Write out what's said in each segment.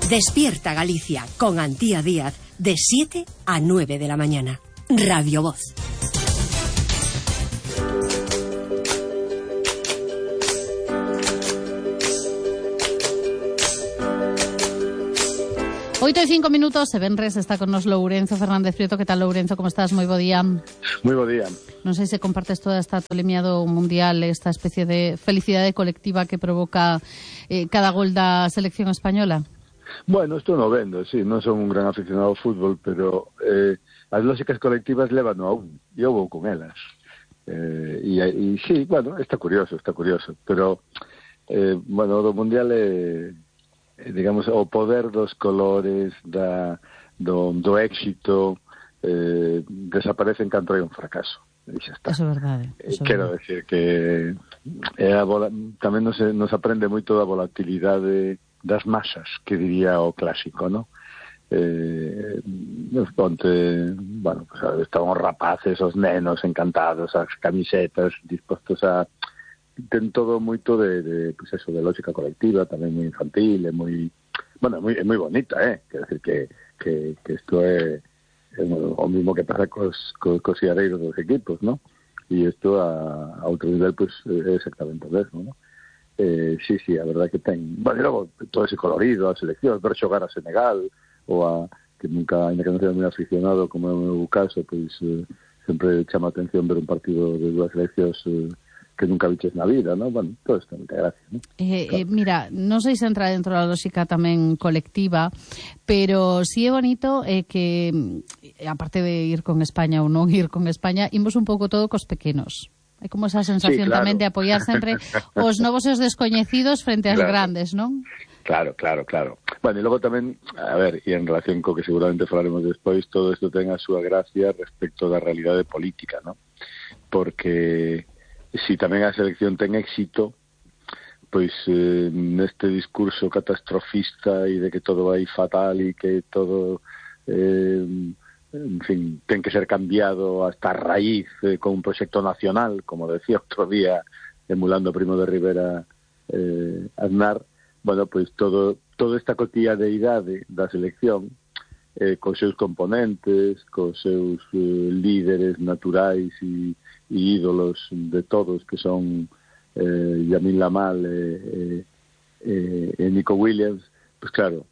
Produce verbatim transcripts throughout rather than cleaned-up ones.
Despierta Galicia con Antía Díaz de siete a nueve de la mañana. Radio Voz. Oito e cinco minutos, e venres está con nos Lourenzo Fernández Prieto. Que tal, Lourenzo? Como estás? Moi bo día. Moi bo día. Non sei se compartes toda esta tolemia do Mundial, esta especie de felicidade colectiva que provoca eh, cada gol da selección española. Bueno, estou no vendo, sí, non son un gran aficionado ao fútbol, pero eh, as lógicas colectivas levan a un, e eu vou con elas. Eh, e, e sí, bueno, está curioso, está curioso, pero, eh, bueno, do Mundial é, eh, digamos, o poder dos colores, da, do, do éxito, eh, desaparecen cando hai un fracaso. E xa está. Eso é verdade. Eso Quero verdade. decir que é a vola, tamén nos, nos aprende moito da volatilidade das masas, que diría o clásico, ¿no? Eh, ponte, bueno, pues, estaban os rapaces, os nenos encantados, as camisetas dispostos a... Ten todo moito de, de, pues eso, de lógica colectiva, tamén moi infantil, é moi... Bueno, é moi, é moi bonita, eh? Quero decir que, que, que isto é, é o mismo que pasa cos, cos, cos iareiros dos equipos, ¿no? E isto a, a outro nivel, pues, é exactamente o mesmo, ¿no? Eh, sí, sí, a verdade que ten... Bueno, e logo, todo ese colorido, a selección, ver xogar a Senegal, ou a... que nunca, ainda que non sea moi aficionado, como é o meu caso, pois eh, sempre chama a atención ver un partido de dúas seleccións eh, que nunca viches na vida, ¿no? Bueno, todo isto é moita gracia, ¿no? Eh, claro. eh, mira, non sei se entra dentro da lógica tamén colectiva, pero si é bonito eh, que, aparte de ir con España ou non ir con España, imos un pouco todo cos pequenos. Hai como esa sensación, sí, claro, tamén de apoiar sempre os novos e os descoñecidos frente ás, claro, grandes, non? Claro, claro, claro. Bueno, e logo tamén, a ver, e en relación co que seguramente falaremos despois, todo isto ten a súa gracia respecto da realidade política, non? Porque si tamén a selección ten éxito, pois eh, neste discurso catastrofista e de que todo vai fatal e que todo... Eh, en fin, ten que ser cambiado hasta a raíz eh, con un proxecto nacional, como decía outro día, emulando Primo de Rivera eh, Aznar. Bueno, pois todo, toda esta cotidianeidade da selección, eh, cos seus componentes, cos seus eh, líderes naturais e, e ídolos de todos, que son eh, Yamil Lamal e eh, eh, eh, Nico Williams, pois claro,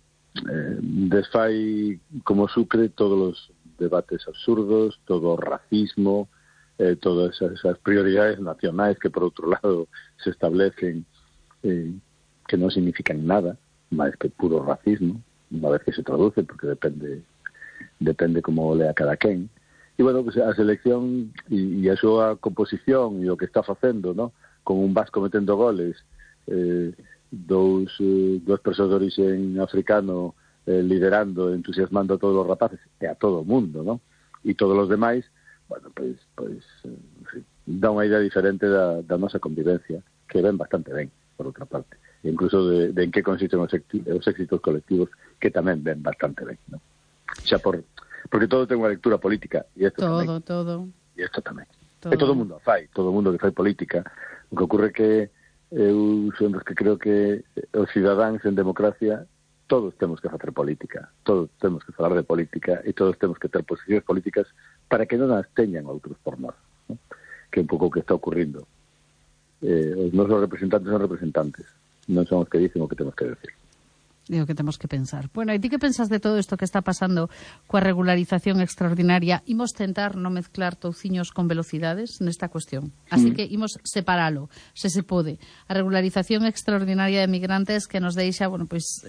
eh, desfai como sucre todos os debates absurdos, todo o racismo, eh, todas esas prioridades nacionais que, por outro lado, se establecen eh, que non significan nada, máis que puro racismo, unha vez que se traduce, porque depende depende como lea cada quen. E, bueno, pues, a selección e, e a súa composición e o que está facendo, ¿no? Con un vasco metendo goles, eh, dous, eh, dous persoas de origen africano Eh, liderando, entusiasmando a todos os rapaces e a todo o mundo, ¿no? E todos os demais, bueno, pois, pois eh, dá unha idea diferente da, da nosa convivencia, que ven bastante ben, por outra parte, e incluso de, de en que consisten os, os éxitos colectivos, que tamén ven bastante ben, ¿no? Xa por, porque todo ten unha lectura política, e isto todo, tamén. Todo, E isto tamén. todo. E todo o mundo fai, todo o mundo que fai política. O que ocurre que eu son dos que creo que os cidadáns en democracia todos temos que facer política, todos temos que falar de política e todos temos que ter posicións políticas para que non as teñan outros por nós, ¿no? Que é un pouco o que está ocurrindo. Eh, os nosos representantes son representantes, non son os que dicen o que temos que decir. Digo que temos que pensar. Bueno, e ti que pensas de todo isto que está pasando coa regularización extraordinaria? Imos tentar non mezclar touciños con velocidades nesta cuestión. Así mm. que imos separalo, se se pode. A regularización extraordinaria de migrantes que nos deixa, bueno, pois...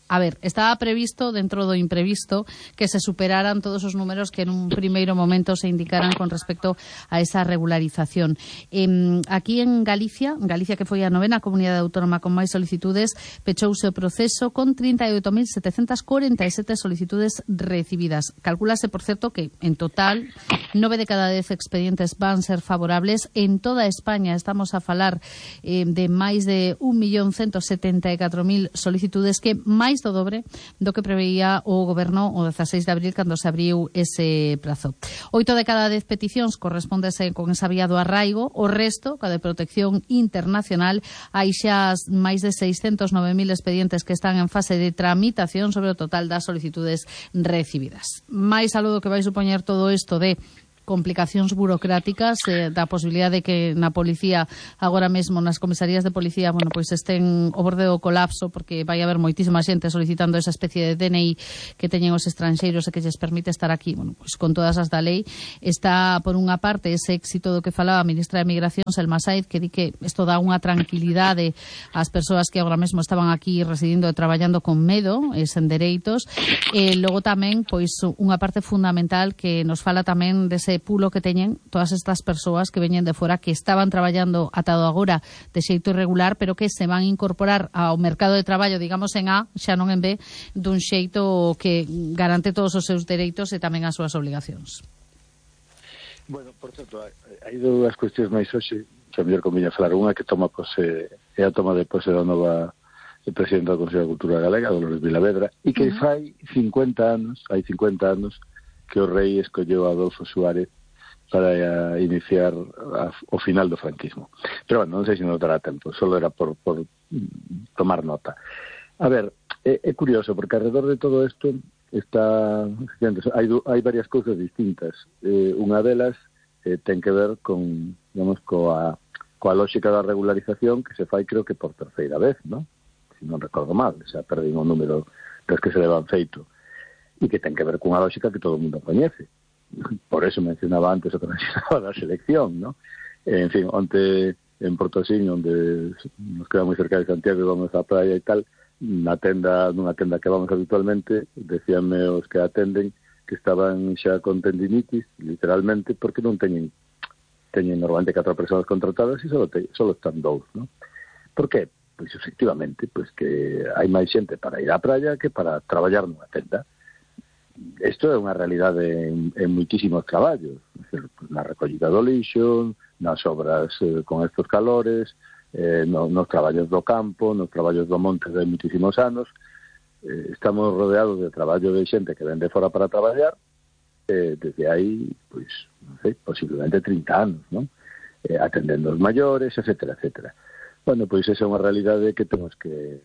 A ver, estaba previsto, dentro do imprevisto, que se superaran todos os números que en un primeiro momento se indicaran con respecto a esa regularización. Eh, aquí en Galicia, Galicia que foi a novena comunidade autónoma con máis solicitudes, pechouse o proceso con trinta e oito mil setecentas corenta e sete solicitudes recibidas. Calcúlase, por certo, que en total nove de cada dez expedientes van ser favorables. En toda España estamos a falar eh, de máis de un millón ciento setenta e catro mil solicitudes, que máis xusto dobre do que preveía o goberno o dezaseis de abril cando se abriu ese prazo. Oito de cada dez peticións correspóndese con esa vía do arraigo, o resto, ca de protección internacional, hai xa máis de seiscentos nove mil expedientes que están en fase de tramitación sobre o total das solicitudes recibidas. Mais saludo que vai supoñer todo isto de complicacións burocráticas, eh, da posibilidade de que na policía, agora mesmo nas comisarías de policía, bueno, pois estén ao borde do colapso, porque vai haber moitísima xente solicitando esa especie de D N I que teñen os estranxeiros e que lles permite estar aquí, bueno, pois con todas as da lei. Está, por unha parte, ese éxito do que falaba a ministra de Migración, Selma Said, que di que isto dá unha tranquilidade ás persoas que agora mesmo estaban aquí residindo e traballando con medo e sen dereitos. E logo tamén, pois, unha parte fundamental que nos fala tamén dese pulo que teñen todas estas persoas que veñen de fora, que estaban traballando atado agora de xeito irregular, pero que se van a incorporar ao mercado de traballo, digamos, en A, xa non en B, dun xeito que garante todos os seus dereitos e tamén as súas obligacións. Bueno, por certo, hai dúas cuestións máis hoxe, que a mellor conviña falar. Unha que toma pose, é a toma de pose da nova presidenta do Consello de Cultura Galega, Dolores Vilavedra, e que uh -huh. fai cincuenta anos, hai cincuenta anos, que o rei escolleu a Adolfo Suárez para iniciar a, o final do franquismo. Pero, bueno, non sei se non dará tempo, solo era por, por tomar nota. A ver, é, é curioso, porque alrededor de todo isto está... Hai, hai varias cousas distintas. Eh, unha delas eh, ten que ver con, digamos, coa, coa lógica da regularización que se fai, creo que por terceira vez, ¿no? Se non recordo mal, xa perdín o número das que se levan feito. E que ten que ver cunha lógica que todo o mundo coñece. Por eso mencionaba antes o que mencionaba da selección, ¿no? En fin, onte en Portosín, onde nos queda moi cerca de Santiago e vamos á praia e tal, na tenda, nunha tenda que vamos habitualmente, decíanme os que atenden que estaban xa con tendinitis, literalmente, porque non teñen teñen normalmente catro persoas contratadas e só te, solo están dous, ¿no? Por que? Pois efectivamente, pois que hai máis xente para ir á praia que para traballar nunha tenda. Isto é unha realidade en, en moitísimos traballos, na recollida do lixo, nas obras eh, con estos calores, eh, no, nos traballos do campo, nos traballos do monte de moitísimos anos. Eh, estamos rodeados de traballo de xente que ven de fora para traballar, eh, desde aí, pois, non sei, posiblemente trinta anos, non? Eh, atendendo os maiores, etcétera, etcétera. Bueno, pois esa é unha realidade que temos que...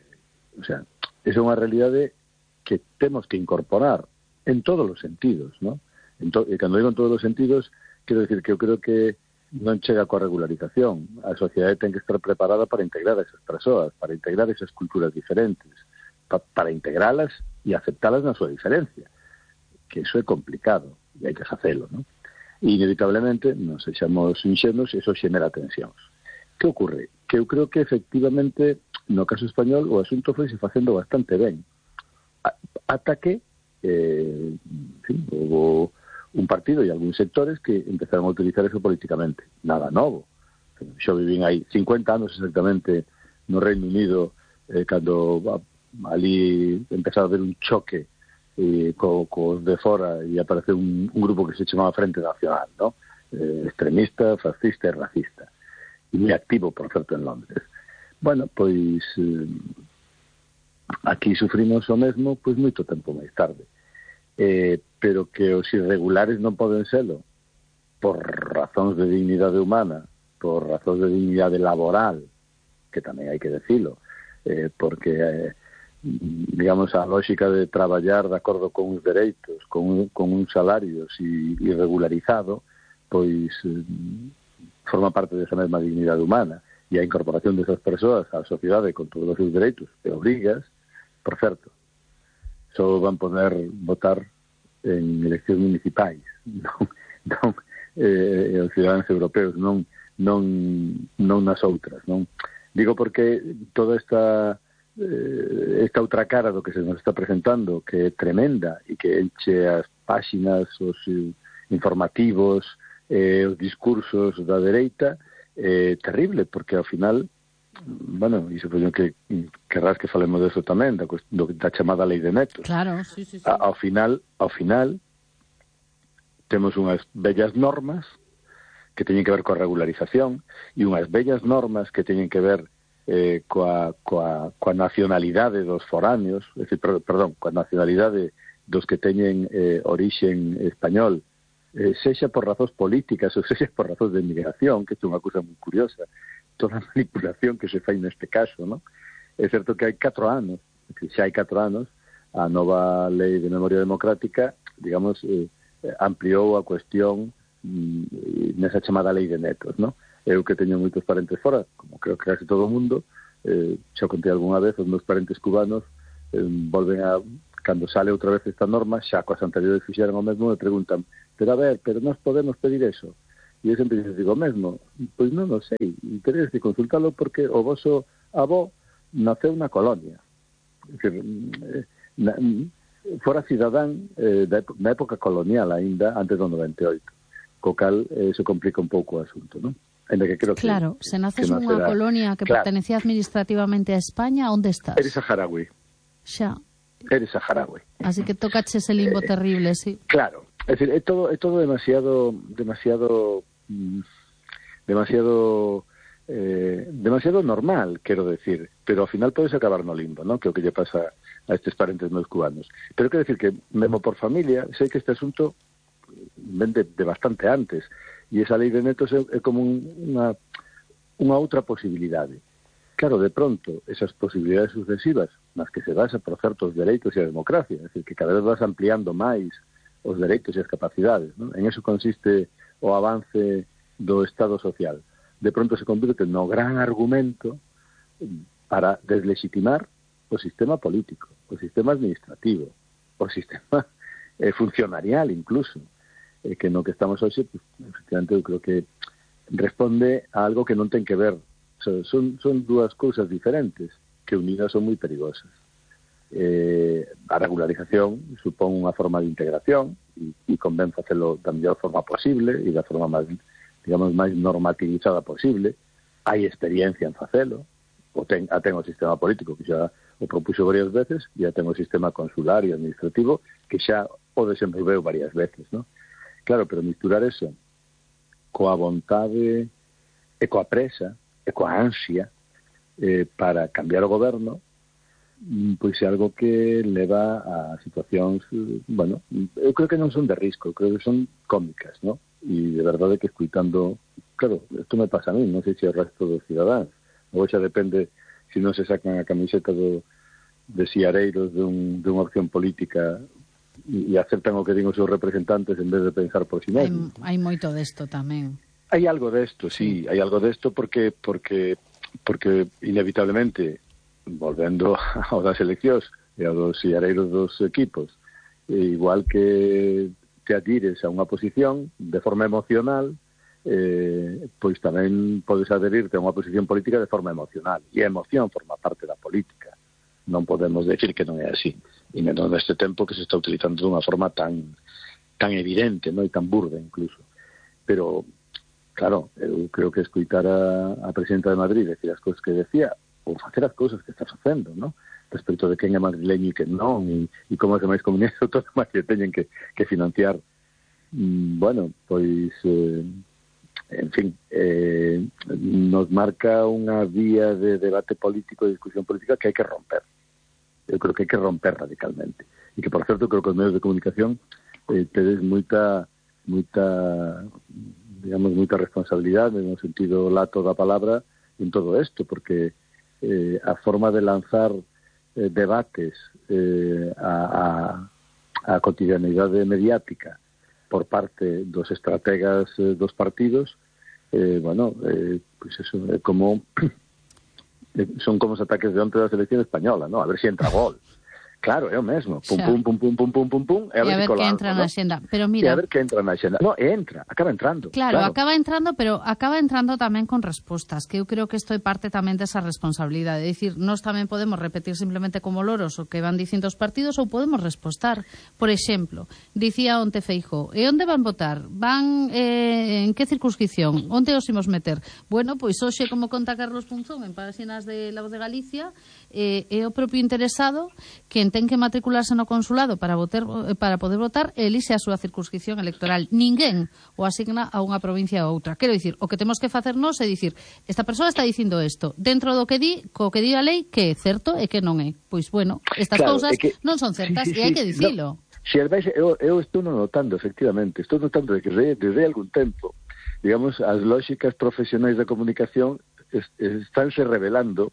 O sea, esa é unha realidade que temos que incorporar en todos os sentidos, ¿no? En to, e cando digo en todos os sentidos, quero decir que eu creo que non chega coa regularización. A sociedade ten que estar preparada para integrar a esas persoas, para integrar esas culturas diferentes, pa, para integralas e aceptalas na súa diferencia, que iso é complicado, e hai que facelo, ¿no? E inevitablemente, non sexamos inxenos, iso xenera tensións. Que ocorre? Que eu creo que efectivamente, no caso español, o asunto foi se facendo bastante ben. Ata que Eh, sí, hubo un partido e algúns sectores que empezaron a utilizar eso políticamente. Nada novo. Xo vivín aí cincuenta anos exactamente no Reino Unido, eh, cando ali empezaba a haber un choque eh, co, co de fora e apareceu un, un grupo que se chamaba Frente Nacional, ¿no? Eh, extremista, fascista e racista, e moi activo, por certo, en Londres. Bueno, pois eh, aquí sufrimos o mesmo pois moito tempo máis tarde, eh, pero que os irregulares non poden selo por razóns de dignidade humana, por razóns de dignidade laboral, que tamén hai que decilo, eh, porque eh, digamos a lógica de traballar de acordo con uns dereitos, con, con uns salarios e irregularizado, pois eh, forma parte desa mesma dignidade humana, e a incorporación desas persoas á sociedade con todos os seus dereitos e obrigas. Por certo, só van poder votar en eleccións municipais, non, non eh, os ciudadanos europeos, non, non, non nas outras, non? Digo porque toda esta eh, esta outra cara do que se nos está presentando, que é tremenda e que enche as páxinas, os eh, informativos, eh, os discursos da dereita, é eh, terrible, porque ao final, bueno, e supoño que querrás que falemos deso tamén, da, do, da chamada lei de netos. Claro, sí, sí, sí. A, ao final, ao final, temos unhas bellas normas que teñen que ver coa regularización e unhas bellas normas que teñen que ver eh, coa, coa, coa nacionalidade dos foráneos, é dicir, perdón, coa nacionalidade dos que teñen eh, orixen español, eh, sexa por razóns políticas ou sexa por razóns de emigración, que é unha cousa moi curiosa, toda a manipulación que se fai neste caso, non? É certo que hai catro anos, que xa hai catro anos, a nova lei de memoria democrática, digamos, eh, ampliou a cuestión mm, nesa chamada lei de netos, non? Eu que teño moitos parentes fora, como creo que casi todo o mundo, eh, xa contei algunha vez, os meus parentes cubanos eh, volven a, cando sale outra vez esta norma, xa coas anteriores fixeron o mesmo, me preguntan, pero a ver, pero nós podemos pedir eso? E eu sempre digo o mesmo, pois non o sei, teredes que consultalo porque o voso avó naceu na colonia, é dicir, na, fora cidadán eh, na época colonial aínda, antes do noventa e oito, co cal eh, se complica un pouco o asunto, non? Que creo claro, que, se naces que nunha colonia que claro. pertenecía administrativamente a España, onde estás? Eres saharaui. Xa. Eres saharaui. Así que tocache ese limbo eh, terrible, sí. Claro, es decir, é todo, é todo demasiado, demasiado, mm, demasiado, eh, demasiado normal, quero decir, pero ao final podes acabar no limbo, ¿no? Que é o que lle pasa a estes parentes meus cubanos. Pero quero decir que, mesmo por familia, sei que este asunto ven de, de bastante antes, e esa lei de netos é, é como un, unha, unha outra posibilidade. Claro, de pronto, esas posibilidades sucesivas nas que se basa por certos dereitos e a democracia, é dicir, que cada vez vas ampliando máis os dereitos e as capacidades, ¿no? En eso consiste o avance do Estado social. De pronto se convirte no gran argumento para deslegitimar o sistema político, o sistema administrativo, o sistema eh, funcionarial incluso, eh, que no que estamos hoxe, pues, efectivamente, eu creo que responde a algo que non ten que ver. O sea, son, son dúas cousas diferentes que unidas son moi perigosas. Eh, a regularización supón unha forma de integración e, e convén facelo da mellor forma posible e da forma máis, digamos, máis normativizada posible. Hai experiencia en facelo, o ten, a ten o sistema político que xa o propuxo varias veces, e a ten o sistema consular e administrativo que xa o desenvolveu varias veces, ¿no? Claro, pero misturar eso coa vontade e coa presa e coa ansia eh, para cambiar o goberno, pois é algo que leva a situacións, bueno, eu creo que non son de risco, creo que son cómicas, ¿no? E de verdade que escuitando, claro, isto me pasa a mí, non sei se o resto dos cidadáns, ou xa depende se non se sacan a camiseta do, de siareiros dun, dunha opción política e, e aceptan o que din os seus representantes en vez de pensar por si mesmo. Hai, hai moito desto tamén. Hai algo desto, sí, hai algo desto porque porque porque inevitablemente volvendo ao das eleccións e ao dos siareiros dos equipos, e igual que te adhires a unha posición de forma emocional, eh, pois tamén podes adherirte a unha posición política de forma emocional, e a emoción forma parte da política. Non podemos decir que non é así, e menos neste tempo que se está utilizando de unha forma tan tan evidente, non, e tan burda incluso. Pero, claro, eu creo que escoitar a, a presidenta de Madrid decir as cousas que decía, ou facer as cousas que está facendo, ¿no? Respecto de quen é madrileño e quen non, e, e como as demais comunidades autónomas que teñen que, que financiar, mm, bueno, pois, eh, en fin, eh, nos marca unha vía de debate político e discusión política que hai que romper. Eu creo que hai que romper radicalmente. E que, por certo, creo que os medios de comunicación eh, tedes moita, moita, digamos, moita responsabilidade no sentido lato da palabra en todo isto, porque Eh, a forma de lanzar eh, debates eh, a, a, a cotidianidade mediática por parte dos estrategas eh, dos partidos, eh, bueno, eh, pues eso, é como eh, son como os ataques de onte da selección española, ¿no? A ver se si entra gol. Claro, é o mesmo. Pum, pum, pum, pum, pum, pum, pum, pum, e a ver, e a ver que entra ¿no? na xenda. Pero mira, e a ver que entra na xenda. No, entra, acaba entrando. Claro, claro, acaba entrando, pero acaba entrando tamén con respostas, que eu creo que isto é parte tamén desa responsabilidade. É dicir, nós tamén podemos repetir simplemente como loros o que van dicindo os partidos ou podemos respostar. Por exemplo, dicía onte Feijóo, e onde van votar? Van eh, en que circunscripción? Onde os imos meter? Bueno, pois hoxe, como conta Carlos Punzón en páxinas de La Voz de Galicia, eh, é o propio interesado que quen ten que matricularse no consulado para votar, para poder votar elixe a súa circunscripción electoral. Ninguén o asigna a unha provincia ou outra. Quero dicir, o que temos que facernos é dicir, esta persoa está dicindo isto, dentro do que di, co que di a lei, que é certo e que non é. Pois, bueno, estas claro, cousas que, non son certas sí, sí, e hai sí, que dicilo. No, si ademais, eu, eu estou notando, efectivamente, estou notando de que desde algún tempo, digamos, as lógicas profesionais da comunicación es, estánse revelando,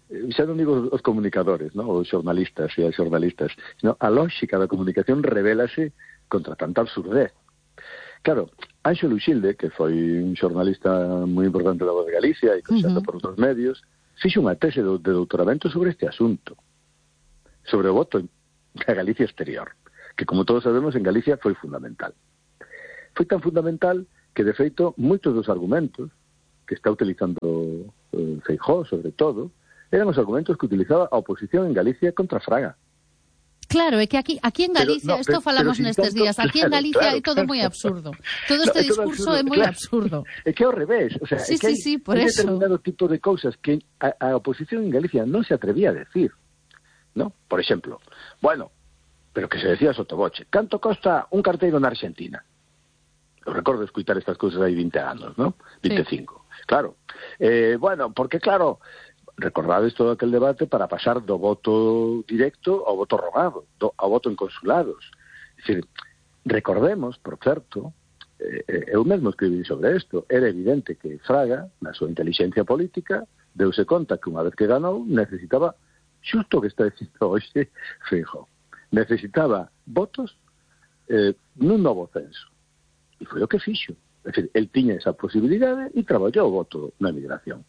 xa non digo os comunicadores, ¿no? Os xornalistas e as xornalistas, sino a lógica da comunicación revélase contra tanta absurdez. Claro, Anxo Luxilde, que foi un xornalista moi importante da Voz de Galicia e que xa uh-huh. por outros medios, fixo unha tese de, de doutoramento sobre este asunto, sobre o voto da Galicia exterior, que, como todos sabemos, en Galicia foi fundamental. Foi tan fundamental que, de feito, moitos dos argumentos que está utilizando eh, Feijóo, sobre todo, eran os argumentos que utilizaba a oposición en Galicia contra Fraga. Claro, é que aquí aquí en Galicia, isto no, falamos nestes días, aquí claro, en Galicia claro, hai todo claro. moi absurdo. Todo este no, discurso é moi claro. absurdo. É que é ao revés, o sea, sí, é que sí, hai sí, por un eso. determinado tipo de cousas que a, a oposición en Galicia non se atrevía a decir, ¿no? Por exemplo, bueno, pero que se decía sotoboche, canto costa un carteiro na Argentina? Eu recordo escutar estas cousas hai vinte anos, ¿no? veinticinco. Sí. Claro. Eh, bueno, porque claro, recordades todo aquel debate para pasar do voto directo ao voto rogado, do, ao voto en consulados. É dicir, recordemos, por certo, eh, eu mesmo escribí sobre isto, era evidente que Fraga, na súa inteligencia política, deuse conta que unha vez que ganou, necesitaba, xusto o que está dicindo hoxe Feijóo, necesitaba votos eh, nun novo censo. E foi o que fixo. É dicir, el tiña esa posibilidade e traballou o voto na emigración.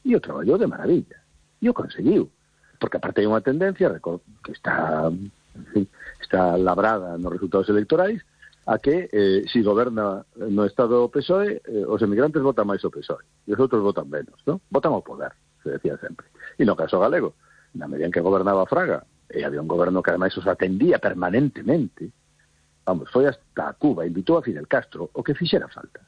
E o traballou de maravilla. E o conseguiu. Porque aparte hai unha tendencia que está, en fin, está labrada nos resultados electorais a que eh, si goberna no Estado o P S O E, eh, os emigrantes votan máis o P S O E. E os outros votan menos, ¿no? Votan ao poder, se decía sempre. E no caso galego, na medida en que gobernaba Fraga, e había un goberno que ademais os atendía permanentemente, vamos, foi hasta Cuba, invitou a Fidel Castro, o que fixera falta.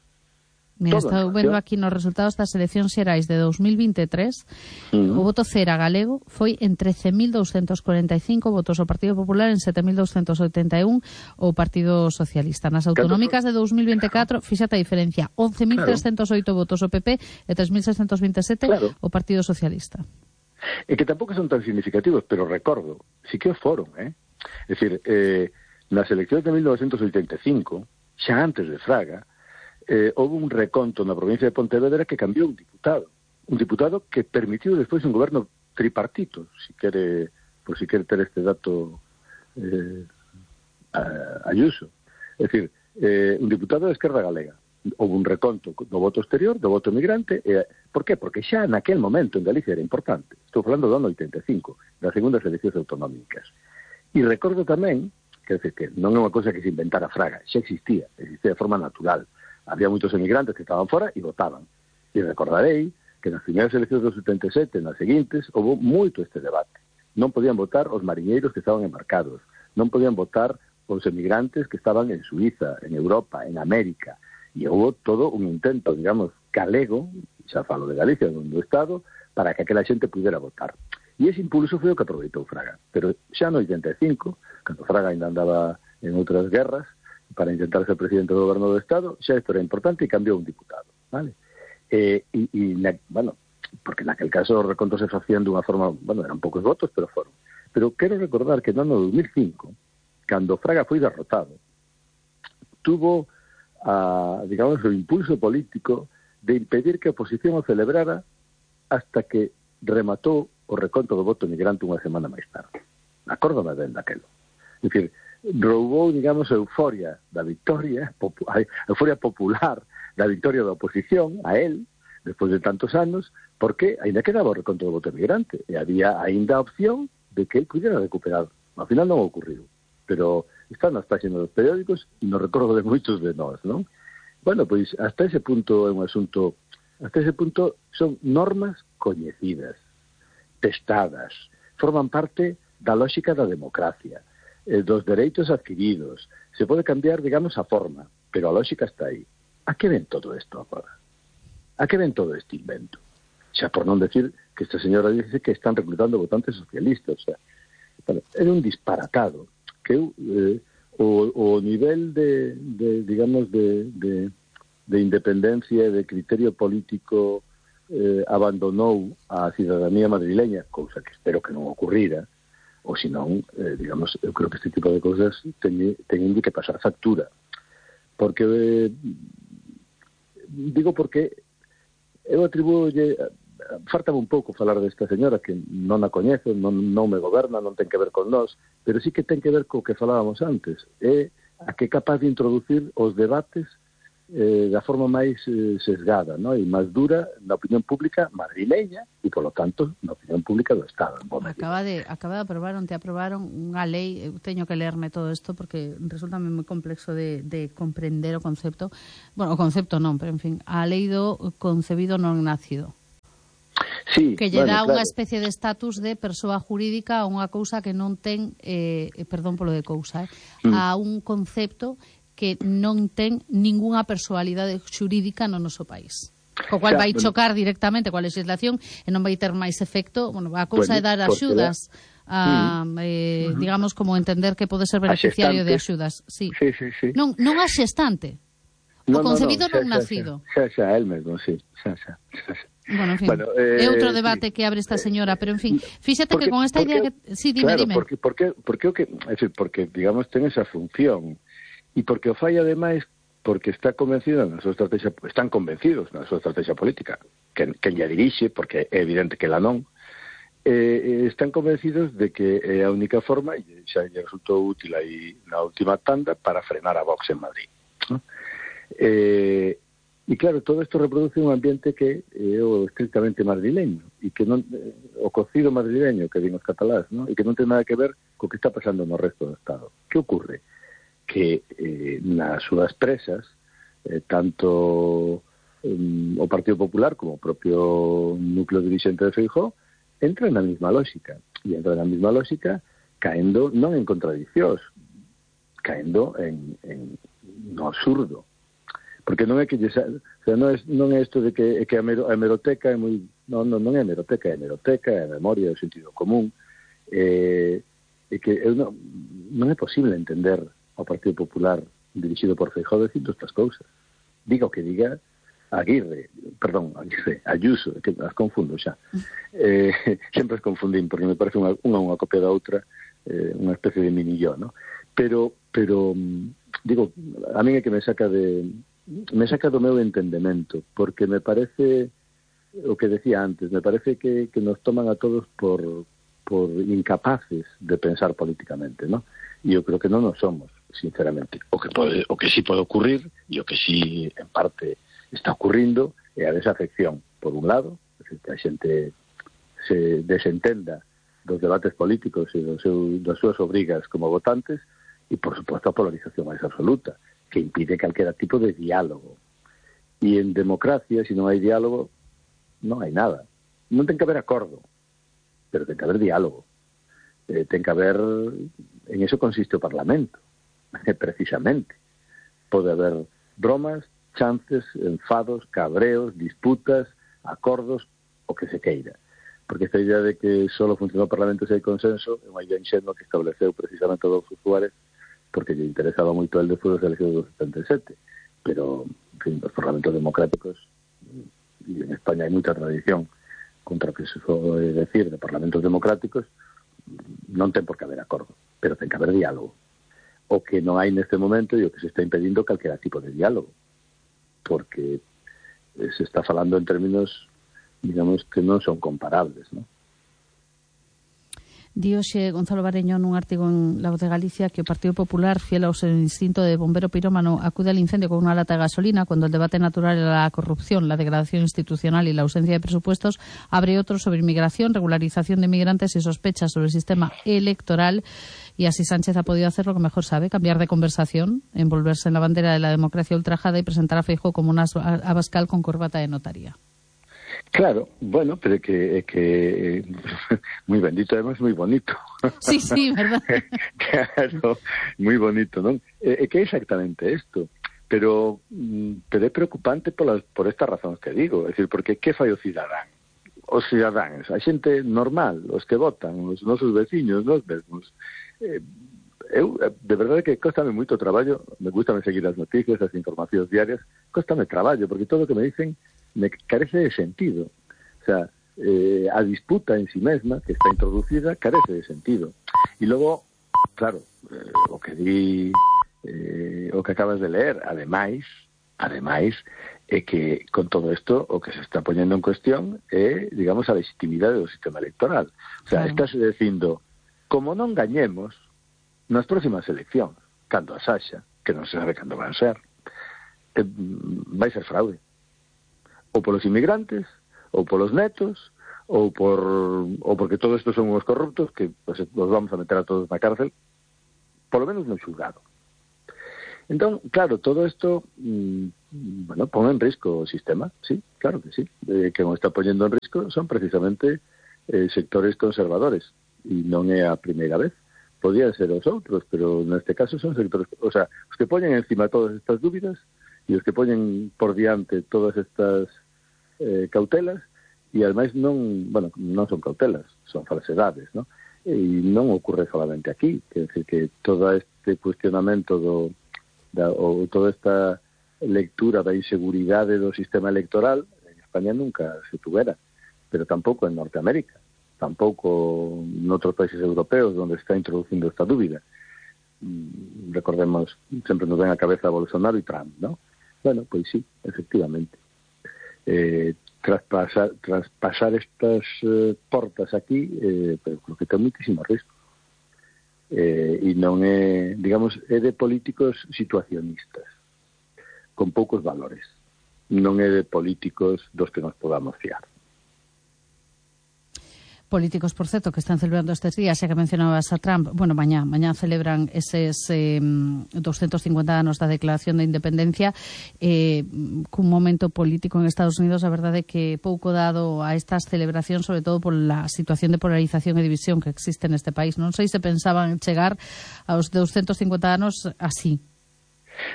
Mira, estou vendo aquí nos resultados das eleccións xerais de dos mil veintitrés, uh-huh. o voto cera galego foi en trece mil douscentos cuarenta e cinco votos ao Partido Popular, en sete mil douscentos oitenta e un o Partido Socialista. Nas autonómicas de dos mil veinticuatro, fíxate a diferencia, once mil trescentos oito claro. votos o P P e tres mil seiscentos veintisiete claro. o Partido Socialista. E que tampouco son tan significativos, pero recordo, sí que o foron, eh? É dicir, eh, nas eleccións de mil novecientos oitenta e cinco, xa antes de Fraga, Eh, houve un reconto na provincia de Pontevedra que cambiou un diputado. Un diputado que permitiu despois un goberno tripartito, si quere, por si quere ter este dato eh, a, Ayuso. É dicir, eh, un diputado de Esquerda Galega. Houve un reconto do voto exterior, do voto migrante. Eh, por qué? Porque xa naquel momento en Galicia era importante. Estou falando do ano oitenta e cinco, das segundas eleccións autonómicas. E recordo tamén, que, que non é unha cosa que se inventara Fraga, xa existía, existía de forma natural. Había moitos emigrantes que estaban fora e votaban. E recordarei que nas primeiras eleccións dos setenta e sete, nas seguintes, houve moito este debate. Non podían votar os mariñeiros que estaban embarcados, non podían votar os emigrantes que estaban en Suiza, en Europa, en América. E houve todo un intento, digamos, galego, xa falo de Galicia, do Estado, para que aquela xente pudera votar. E ese impulso foi o que aproveitou Fraga. Pero xa no oitenta e cinco, cando Fraga ainda andaba en outras guerras, para intentar ser presidente do goberno do Estado, xa isto era importante e cambiou un diputado, vale? Eh, e, e na, bueno, porque naquel caso os recontos se facían dunha forma, bueno, eran poucos votos, pero foron. Pero quero recordar que no ano dos mil cinco, cando Fraga foi derrotado, tuvo, a, digamos, o impulso político de impedir que a oposición o celebrara hasta que rematou o reconto do voto migrante unha semana máis tarde. Acórdame ben daquelo. É dicir, roubou, digamos, a euforia da victoria, a euforia popular da victoria da oposición a él, despois de tantos anos, porque ainda quedaba o reconto do voto migrante, e había ainda a opción de que él pudiera recuperar. Ao final non ocurriu, pero está nas páxinas dos periódicos e nos recordo de moitos de nós, non? Bueno, pois, hasta ese punto é un asunto, hasta ese punto son normas coñecidas, testadas, forman parte da lógica da democracia, eh, dos dereitos adquiridos. Se pode cambiar, digamos, a forma, pero a lógica está aí. A que ven todo isto agora? A que ven todo este invento? Xa por non decir que esta señora dice que están reclutando votantes socialistas. O sea, bueno, é un disparatado que eh, o, o nivel de, de digamos, de, de, de independencia e de criterio político eh, abandonou a cidadanía madrileña, cousa que espero que non ocurrira, ou senón, eh, digamos, eu creo que este tipo de cousas teñen, teñen que pasar factura. Porque, eh, digo porque eu atribuo, faltaba un pouco falar desta señora que non a coñezo, non, non me goberna, non ten que ver con nós, pero sí que ten que ver co que falábamos antes, é a que é capaz de introducir os debates eh, da forma máis eh, sesgada, ¿no? E máis dura na opinión pública madrileña e, polo tanto, na opinión pública do Estado. Acaba de, acaba de aprobar, onte aprobaron unha lei, eu teño que lerme todo isto porque resulta moi complexo de, de comprender o concepto, bueno, o concepto non, pero en fin, a lei do concebido non nacido. Sí, que lle bueno, dá claro. unha especie de estatus de persoa jurídica a unha cousa que non ten, eh, perdón polo de cousa, eh, mm. a un concepto que non ten ningunha persoalidade xurídica no noso país. Co cual xa, vai bueno, chocar directamente coa legislación e non vai ter máis efecto. Bueno, a cousa bueno, é dar axudas, a, mm. eh, uh-huh. digamos, como entender que pode ser beneficiario de axudas. Sí. Sí, sí, sí. Non, non a xestante. O no, concebido no, no, xa, non xa, nacido. Xa, xa, xa, el mesmo, sí. Xa, xa, xa, xa. Bueno, en fin, bueno, eh, é outro debate sí. que abre esta señora, pero en fin, fíxate porque, que con esta porque, idea que... Sí, dime, claro, dime. porque, porque, porque, porque, é dicir, porque, digamos, ten esa función e porque o fai, ademais, porque está convencido na súa estrategia, están convencidos na súa estrategia política, que, que ella dirixe, porque é evidente que la non, eh, están convencidos de que é a única forma, e xa lle resultou útil aí na última tanda, para frenar a Vox en Madrid, ¿no? Eh, e claro, todo isto reproduce un ambiente que é o estrictamente madrileño e que non, o cocido madrileño que din os catalás, ¿no? E que non ten nada que ver co que está pasando no resto do Estado. Que ocorre? Que eh, nas súas presas eh, tanto um, o Partido Popular como o propio núcleo dirixente de Feijóo entran na mesma lógica e entran na mesma lógica caendo non en contradiccións, caendo en, en no absurdo. Porque non é que lle, o sea, non é non é isto de que, que a, mero, a hemeroteca é moi non, non, non é hemeroteca, é hemeroteca, é memoria, é o sentido común. Eh, e que eu non, non é posible entender ao Partido Popular dirixido por Feijóo dicindo estas cousas. Diga o que diga Aguirre, perdón, Aguirre, Ayuso, que as confundo xa. Eh, sempre as confundín porque me parece unha, unha, unha copia da outra, eh, unha especie de minilló, ¿no? Pero, pero digo, a mí é que me saca de me saca do meu entendemento, porque me parece o que decía antes, me parece que, que nos toman a todos por, por incapaces de pensar políticamente, ¿no? E eu creo que non nos somos, sinceramente. O que pode, o que sí pode ocurrir, e o que sí, en parte, está ocurrindo, é a desafección, por un lado, que a xente se desentenda dos debates políticos e dos seu, das súas obrigas como votantes, e, por suposto, a polarización máis absoluta, que impide calquera tipo de diálogo. E en democracia, se non hai diálogo, non hai nada. Non ten que haber acordo, pero ten que haber diálogo. Eh, ten que haber... En eso consiste o Parlamento, precisamente. Pode haber bromas, chances, enfados, cabreos, disputas, acordos, o que se queira. Porque esta idea de que só funciona o Parlamento se hai consenso é unha idea inxenua que estableceu precisamente Adolfo Suárez porque lle interesaba moito el despois das eleccións do setenta e sete, pero, en fin, os parlamentos democráticos, e en España hai moita tradición contra o que se soe decir de parlamentos democráticos, non ten por que haber acordo, pero ten que haber diálogo. O que non hai neste momento e o que se está impedindo calquera tipo de diálogo, porque se está falando en términos, digamos, que non son comparables, non? Dioxe Gonzalo Bareño nun artigo en La Voz de Galicia que o Partido Popular, fiel ao seu instinto de bombero pirómano, acude al incendio con unha lata de gasolina cuando el debate natural era la corrupción, la degradación institucional y la ausencia de presupuestos, abre otro sobre inmigración, regularización de migrantes y sospechas sobre el sistema electoral. Y así Sánchez ha podido hacer lo que mejor sabe, cambiar de conversación, envolverse en la bandera de la democracia ultrajada y presentar a Feijóo como un Abascal con corbata de notaría. Claro, bueno, pero é que é que moi bendito, además moi bonito. Sí, sí, verdad. Claro, moi bonito, non? É, é que é exactamente isto. Pero pero é preocupante por, las, por estas razóns que digo, é dicir, porque que fai o cidadán? os cidadáns, a xente normal, os que votan, os nosos veciños, nós mesmos. Eh, eu, de verdade que cóstame moito traballo, me gusta me seguir as noticias, as informacións diarias, cóstame traballo, porque todo o que me dicen me carece de sentido. O sea, eh, a disputa en sí mesma, que está introducida, carece de sentido. E logo, claro, eh, o que di, eh, o que acabas de leer, ademais, ademais, é que con todo isto o que se está poñendo en cuestión é, digamos, a legitimidade do sistema electoral. O sea, claro. Estáse dicindo, como non gañemos nas próximas eleccións, cando as haxa, que non se sabe cando van ser, eh, vai ser fraude. Ou polos inmigrantes, ou polos netos, ou por ou porque todo isto son os corruptos, que pues, os vamos a meter a todos na cárcel, polo menos no xulgado. Entón, claro, todo isto, mmm, bueno, pon en risco o sistema, sí, claro que sí. Eh, que non está poñendo en risco son precisamente eh, sectores conservadores, e non é a primeira vez. Podían ser os outros, pero neste caso son sectores, o sea, os que poñen encima todas estas dúbidas e os que poñen por diante todas estas eh, cautelas, e ademais non, bueno, non son cautelas, son falsedades, ¿no? E non ocorre solamente aquí, quer decir que todo este cuestionamento do Da, ou toda esta lectura da inseguridade do sistema electoral en España nunca se tuvera, pero tampouco en Norteamérica, tampouco en outros países europeos onde está introducindo esta dúbida. Mm, recordemos, sempre nos ven a cabeza Bolsonaro e Trump, ¿no? Bueno, pois sí, efectivamente. Eh, traspasar, traspasar estas eh, portas aquí, eh, pero creo que ten muitísimo risco. Eh, e non é, digamos, é de políticos situacionistas, con poucos valores. Non é de políticos dos que nos podamos fiar. Políticos, por certo, que están celebrando estes días, xa que mencionabas a Trump, bueno, mañá, mañá celebran eses eh, doscientos cincuenta anos da Declaración de Independencia, eh, cun momento político en Estados Unidos, a verdade é que pouco dado a estas celebracións, sobre todo por la situación de polarización e división que existe neste país. Non sei se pensaban chegar aos doscientos cincuenta anos así.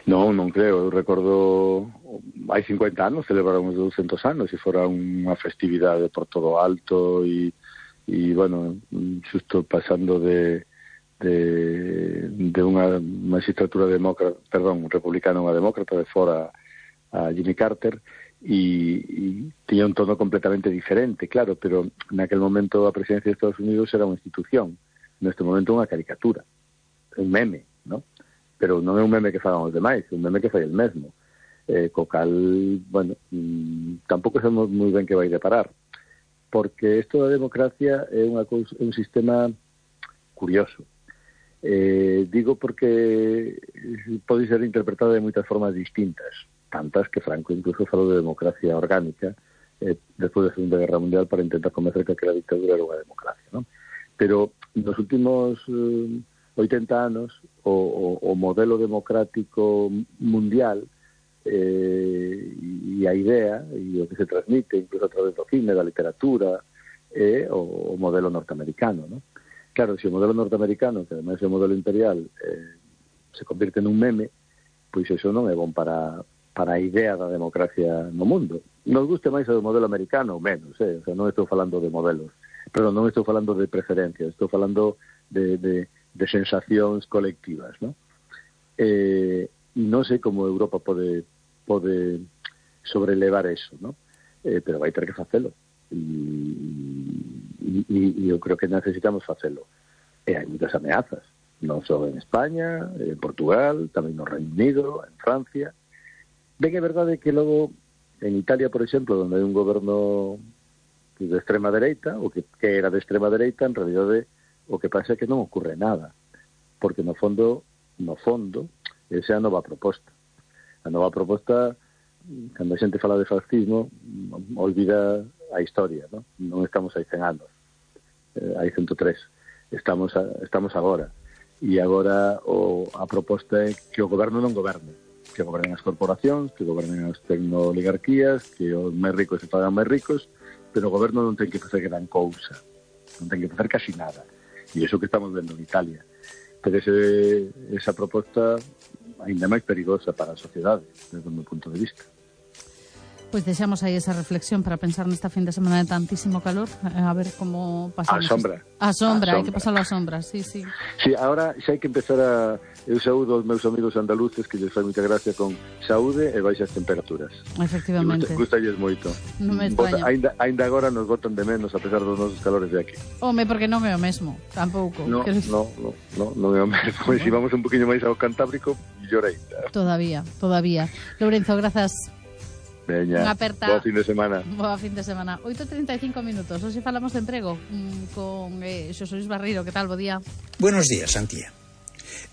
Non, non creo. Eu recordo, hai cincuenta anos celebraron os doscientos anos e fora unha festividade por todo alto e e, bueno, xusto pasando de de, de unha magistratura demócrata, perdón, republicana a unha demócrata, de fora a Jimmy Carter, e, e tiña un tono completamente diferente, claro, pero naquel momento a presidencia de Estados Unidos era unha institución, neste momento unha caricatura, un meme, ¿no? Pero non é un meme que fagan os demais, é un meme que fai el mesmo, eh, co cal, bueno, mmm, tampouco sabemos moi ben que vai deparar, porque isto da democracia é unha cousa, un sistema curioso. Eh, digo porque pode ser interpretado de moitas formas distintas, tantas que Franco incluso falou de democracia orgánica eh, despois da Segunda Guerra Mundial para intentar convencer que aquela dictadura era unha democracia, ¿no? Pero nos últimos eh, oitenta anos o, o, o modelo democrático mundial Eh, e a idea e o que se transmite incluso a través do cine, da literatura é o, o modelo norteamericano, ¿no? Claro, se o modelo norteamericano, que ademais é o modelo imperial, eh, se convirte nun meme, pois iso non é bon para, para a idea da democracia no mundo. Nos guste máis o modelo americano ou menos, eh? O sea, non estou falando de modelos, pero non estou falando de preferencias, estou falando de, de, de sensacións colectivas, ¿no? Eh, e non sei como Europa pode pode sobrelevar eso, ¿no? Eh, pero vai ter que facelo. E, e, e eu creo que necesitamos facelo. E hai moitas ameazas, non só en España, en Portugal, tamén no Reino Unido, en Francia. Ben, é verdade que logo en Italia, por exemplo, onde hai un goberno de extrema dereita, ou que, que era de extrema dereita, en realidade o que pasa é que non ocorre nada, porque no fondo, no fondo, esa é a nova proposta. A nova proposta, cando a xente fala de fascismo, olvida a historia, ¿no? Non estamos hai cen anos, eh, hai ciento tres, estamos a, estamos agora, e agora o, a proposta é que o goberno non goberne, que gobernen as corporacións, que gobernen as tecnooligarquías, que os máis ricos se fagan máis ricos, pero o goberno non ten que facer gran cousa, non ten que facer casi nada, e iso que estamos vendo en Italia. Pero ese, esa proposta ainda máis perigosa para a sociedade, desde o meu punto de vista. Pues deseamos aí esa reflexión para pensar nesta fin de semana de tantísimo calor, a ver como pasamos. A sombra. A sombra, a hai que pasarlo a sombra, sí, sí. Sí, agora xa hai que empezar a... Eu saúdo aos meus amigos andaluces que lles fai moita gracia con saúde e baixas temperaturas. Efectivamente. Gustalles moito. Non me extraña. Ainda, ainda agora nos botan de menos a pesar dos nosos calores de aquí. Home, porque non é o mesmo, tampouco. No, que... no, no, no, non é o mesmo. E se vamos un poquinho máis ao Cantábrico, mellor ainda. Todavía, todavía. Lourenzo, grazas. Veña, boa fin de semana. Boa fin de semana. oito e trinta e cinco minutos. Hoxe falamos de emprego con eh, Xosé Luis Barreiro. Que tal? Bo día. Buenos días, Antía.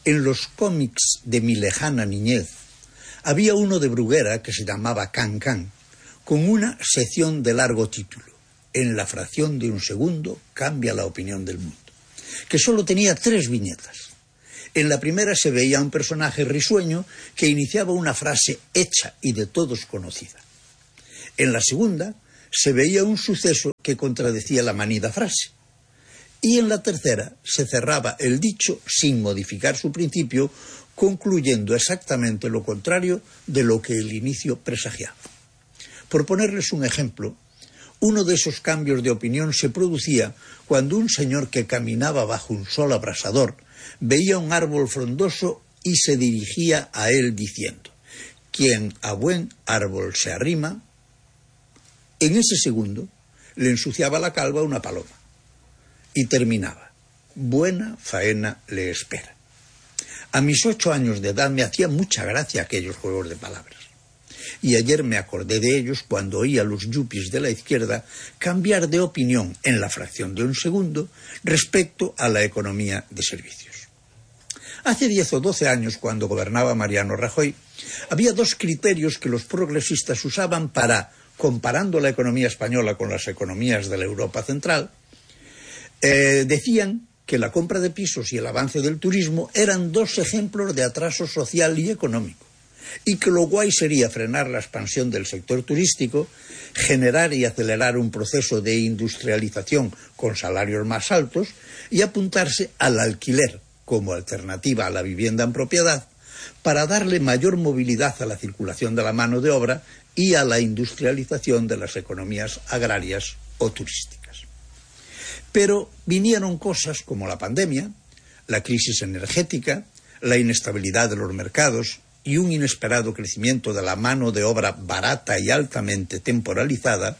En los cómics de mi lejana niñez había uno de Bruguera que se llamaba Can Can, con una sección de largo título. En la fracción de un segundo cambia la opinión del mundo, que solo tenía tres viñetas. En la primera se veía un personaje risueño que iniciaba una frase hecha y de todos conocida. En la segunda se veía un suceso que contradecía la manida frase. Y en la tercera se cerraba el dicho sin modificar su principio, concluyendo exactamente lo contrario de lo que el inicio presagiaba. Por ponerles un ejemplo, uno de esos cambios de opinión se producía cuando un señor que caminaba bajo un sol abrasador veía un árbol frondoso y se dirigía a él diciendo: «Quien a buen árbol se arrima». En ese segundo le ensuciaba la calva una paloma y terminaba: «Buena faena le espera». A mis ocho años de edad me hacía mucha gracia aquellos juegos de palabras. Y ayer me acordé de ellos cuando oí a los yuppies de la izquierda cambiar de opinión en la fracción de un segundo respecto a la economía de servicios. Hace diez o doce años, cuando gobernaba Mariano Rajoy, había dos criterios que los progresistas usaban para, comparando la economía española con las economías de la Europa central, eh, decían que la compra de pisos y el avance del turismo eran dos ejemplos de atraso social y económico, y que lo guay sería frenar la expansión del sector turístico, generar y acelerar un proceso de industrialización con salarios más altos y apuntarse al alquiler como alternativa a la vivienda en propiedad para darle mayor movilidad a la circulación de la mano de obra y a la industrialización de las economías agrarias o turísticas. Pero vinieron cosas como la pandemia, la crisis energética, la inestabilidad de los mercados y un inesperado crecimiento de la mano de obra barata y altamente temporalizada,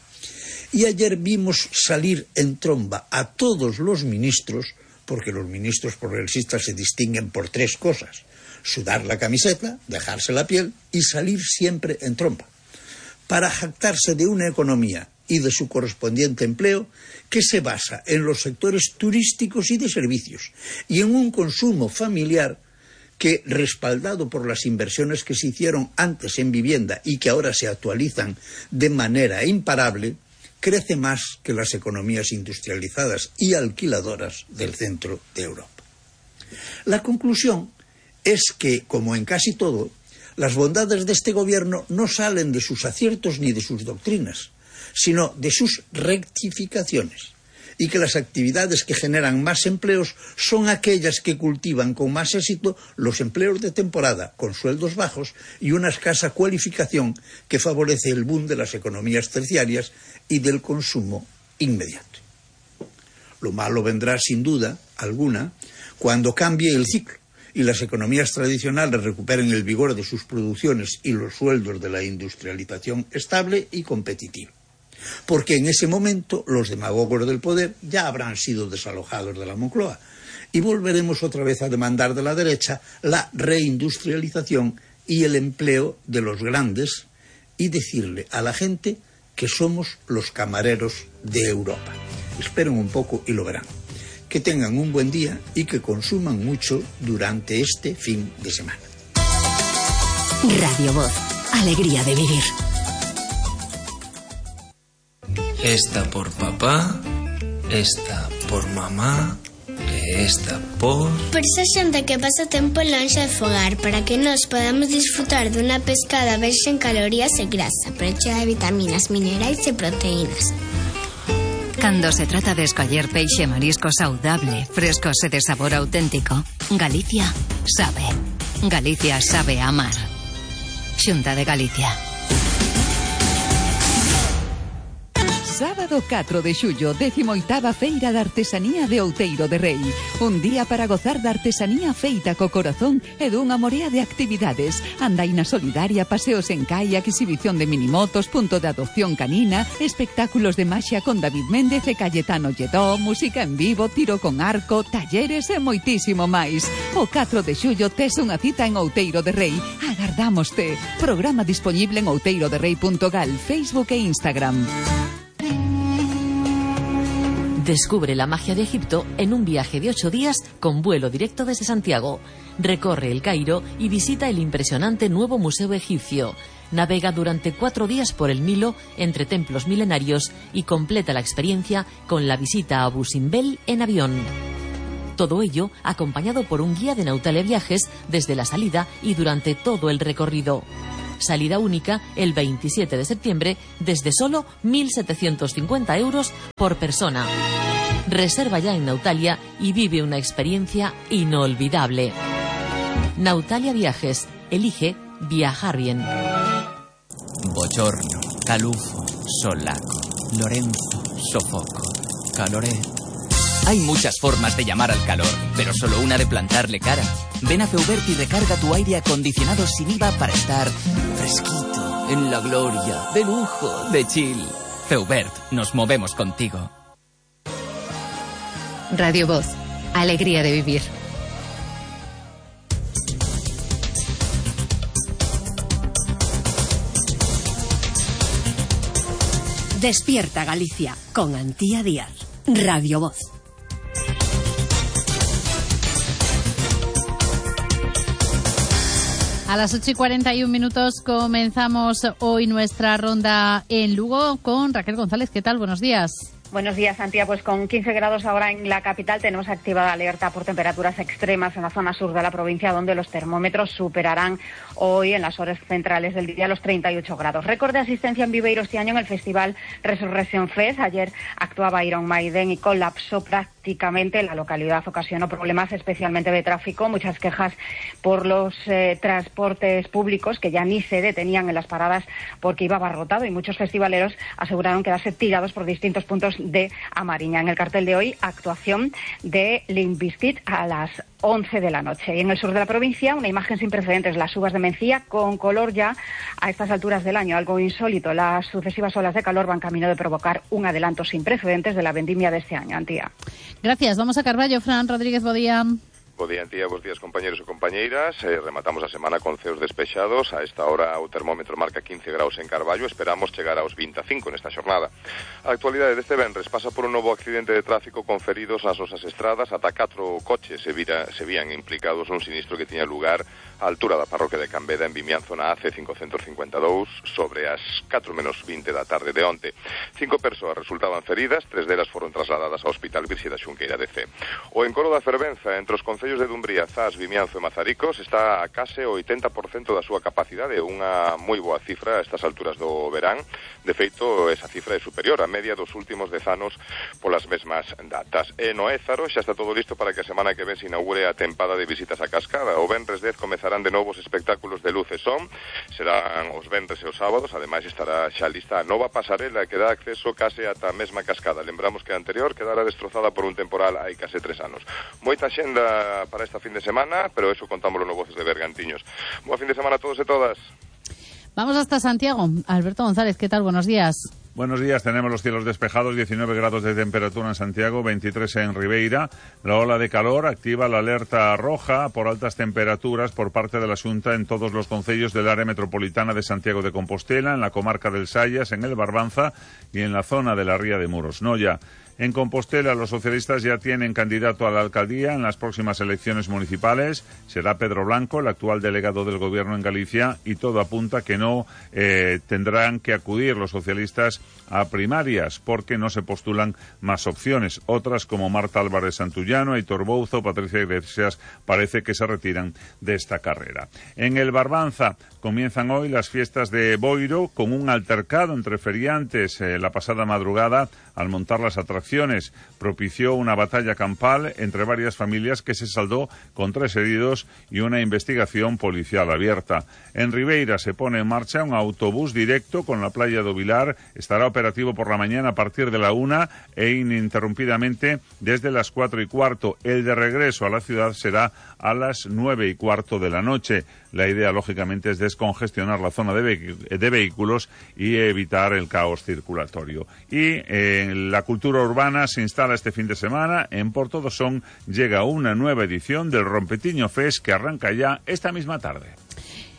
y ayer vimos salir en tromba a todos los ministros, porque los ministros progresistas se distinguen por tres cosas: sudar la camiseta, dejarse la piel y salir siempre en tromba, para jactarse de una economía y de su correspondiente empleo que se basa en los sectores turísticos y de servicios y en un consumo familiar que, respaldado por las inversiones que se hicieron antes en vivienda y que ahora se actualizan de manera imparable, crece más que las economías industrializadas y alquiladoras del centro de Europa. La conclusión es que, como en casi todo, las bondades de este gobierno no salen de sus aciertos ni de sus doctrinas, sino de sus rectificaciones, y que las actividades que generan más empleos son aquellas que cultivan con más éxito los empleos de temporada, con sueldos bajos y una escasa cualificación que favorece el boom de las economías terciarias y del consumo inmediato. Lo malo vendrá, sin duda alguna, cuando cambie el ciclo y las economías tradicionales recuperen el vigor de sus producciones y los sueldos de la industrialización estable y competitiva. Porque en ese momento los demagogos del poder ya habrán sido desalojados de la Moncloa y volveremos otra vez a demandar de la derecha la reindustrialización y el empleo de los grandes y decirle a la gente que somos los camareros de Europa. Esperen un poco y lo verán. Que tengan un buen día y que consuman mucho durante este fin de semana. Radio Voz, alegría de vivir. Esta por papá, esta por mamá, e esta por... Por esa xente que pasa tempo lonxe de fogar, para que nos podamos disfrutar dunha pescada verxe en calorías e grasa, pero chea de vitaminas, minerais e proteínas. Cando se trata de escoller peixe marisco saudable, frescos e de sabor auténtico, Galicia sabe. Galicia sabe amar. Xunta de Galicia. Sábado catro de xullo, décimo oitava Feira de Artesanía de Outeiro de Rei. Un día para gozar da artesanía feita co corazón e dunha morea de actividades. Andaina solidaria, paseos en kayak, exhibición de minimotos, punto de adopción canina, espectáculos de maxia con David Méndez e Cayetano Lledó, música en vivo, tiro con arco, talleres e moitísimo máis. O catro de xullo tes unha cita en Outeiro de Rei. Agardámoste. Programa disponible en outeiro de rei punto gal, Facebook e Instagram. Descubre la magia de Egipto en un viaje de ocho días con vuelo directo desde Santiago. Recorre el Cairo y visita el impresionante nuevo Museo Egipcio. Navega durante cuatro días por el Nilo entre templos milenarios y completa la experiencia con la visita a Abu Simbel en avión. Todo ello acompañado por un guía de Nautalia Viajes desde la salida y durante todo el recorrido. Salida única el veintisiete de septiembre desde solo mil setecientos cincuenta euros por persona. Reserva ya en Nautalia y vive una experiencia inolvidable. Nautalia Viajes. Elige viajar bien. Bochorno, calufo, solaco, Lorenzo, sofoco, caloré. Hay muchas formas de llamar al calor, pero solo una de plantarle cara. Ven a Feubert y recarga tu aire acondicionado sin I V A para estar fresquito, en la gloria, de lujo, de chill. Feubert, nos movemos contigo. Radio Voz, alegría de vivir. Despierta Galicia con Antía Díaz. Radio Voz. A las ocho y cuarenta y un minutos comenzamos hoy nuestra ronda en Lugo con Raquel González. ¿Qué tal? Buenos días. Buenos días, Antía. Pues con quince grados ahora en la capital tenemos activada alerta por temperaturas extremas en la zona sur de la provincia, donde los termómetros superarán hoy en las horas centrales del día los treinta y ocho grados. Récord de asistencia en Viveiro este año en el festival Resurrection Fest. Ayer actuaba Iron Maiden y colapsó prácticamente la localidad. Ocasionó problemas especialmente de tráfico, muchas quejas por los eh, transportes públicos que ya ni se detenían en las paradas porque iba abarrotado, y muchos festivaleros aseguraron quedarse tirados por distintos puntos de Amariña. En el cartel de hoy, actuación de Limp Bizkit a las once de la noche. Y en el sur de la provincia, una imagen sin precedentes, las uvas de Mencía con color ya a estas alturas del año, algo insólito. Las sucesivas olas de calor van camino de provocar un adelanto sin precedentes de la vendimia de este año. Antía. Gracias. Vamos a Carballo. Fran Rodríguez Bodía. Bo día, Antía, bos días, compañeros e compañeiras. Eh, rematamos a semana con ceos despexados. A esta hora o termómetro marca quince graus en Carballo. Esperamos chegar aos vinte e cinco nesta xornada. A actualidade deste venres pasa por un novo accidente de tráfico con feridos nas nosas estradas. Ata catro coches se, vira, se vían implicados nun sinistro que tiña lugar á altura da parroquia de Cambeda, en Vimianzo, na A C cincocentos cincuenta e dous, sobre as catro menos vinte da tarde de onte. Cinco persoas resultaban feridas, tres delas foron trasladadas ao Hospital Virxe da Xunqueira de Cee. O encoro da fervenza entre os concellos de Dumbría, Zas, Vimianzo e Mazaricos está a case o oitenta por cento da súa capacidade, unha moi boa cifra a estas alturas do verán. De feito, esa cifra é superior á media dos últimos dez anos polas mesmas datas. E no Ézaro xa está todo listo para que a semana que ven se inaugure a tempada de visitas á cascada. O venres dez comezarán de novos espectáculos de luz e son, serán os venres e os sábados. Ademais estará xa lista a nova pasarela que dá acceso case ata a mesma cascada. Lembramos que a anterior quedara destrozada por un temporal hai case tres anos. Moita xenda para esta fin de semana, pero eso contámoslo no Voces de Bergantiños. Boa fin de semana a todos e todas. Vamos hasta Santiago. Alberto González, ¿qué tal? Buenos días. Buenos días, tenemos los cielos despejados, diecinueve grados de temperatura en Santiago, veintitrés en Ribeira. La ola de calor activa la alerta roja por altas temperaturas por parte de la Xunta en todos los concellos del área metropolitana de Santiago de Compostela, en la comarca del Sayas, en el Barbanza y en la zona de la Ría de Muros. Noia. En Compostela, los socialistas ya tienen candidato a la alcaldía en las próximas elecciones municipales. Será Pedro Blanco, el actual delegado del Gobierno en Galicia, y todo apunta que no eh, tendrán que acudir los socialistas a primarias porque no se postulan más opciones. Otras, como Marta Álvarez Santullano, Aitor Bouzo, Patricia Iglesias, parece que se retiran de esta carrera. En el Barbanza comienzan hoy las fiestas de Boiro con un altercado entre feriantes eh, la pasada madrugada al montar las atracciones municiones. Propició una batalla campal entre varias familias que se saldó con tres heridos y una investigación policial abierta. En Ribeira se pone en marcha un autobús directo con la playa do Vilar. Estará operativo por la mañana a partir de la una e ininterrumpidamente desde las cuatro y cuarto. El de regreso a la ciudad será a las nueve y cuarto de la noche. La idea, lógicamente, es descongestionar la zona de, ve- de vehículos y evitar el caos circulatorio. Y eh, la cultura urbana se instala este fin de semana. En Porto do Son llega una nueva edición del Rompetiño Fest que arranca ya esta misma tarde.